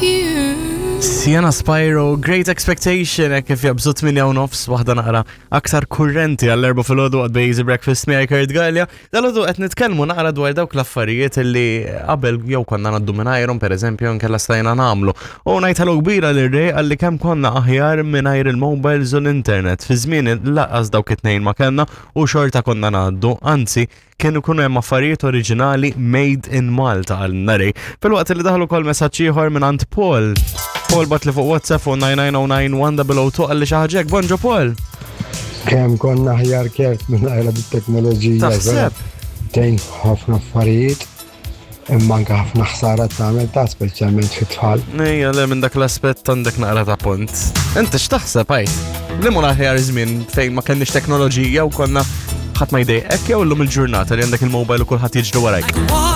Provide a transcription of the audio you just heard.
You. Sienna Spyro, Great Expectation, hekk kif jabżu 8 u nofs waħda naqra aktar kurrenti għall-erba filgħodu għad Easy Breakfast miegħi Kurt Gallia. Dal-għodu qed nitkellmu naqra dwar dawk l-affarijiet li qabel jew konna ngħaddu mingħajrhom pereżempju nkella stajna nagħmlu. U ngħid hello kbira lil Ray għalli kemm konna aħjar mingħajr il-mobiles u l-internet. Fi żmien laqas dawk it-tnejn ma kellna u xorta konna ngħaddu, anzi kienu kunu hemm affarijiet oriġinali made in Malta għal nari. Fil-waqt li daħlu kol messaġġ ieħor minn għand Paul. Paul bat li fuq WhatsApp fuq 99091 għalli xi ħaġa hekk. Bonġo Paul. Kemm konna aħjar kert minn għajla bit-teknoloġija. Taħseb? Tejn ħafna affarijiet, imma anke ħafna ħsara tagħmel ta' speċjalment fit-tfal. Ejja, le minn dak l-aspett għandek naqra ta' punt. Inti x'taħseb għajt? Li mu aħjar żmien fejn ma kenniex teknoloġija u konna ħadd ma jdejqek jew illum il-ġurnata li għandek il-mobile u kulħadd jiġri warajk.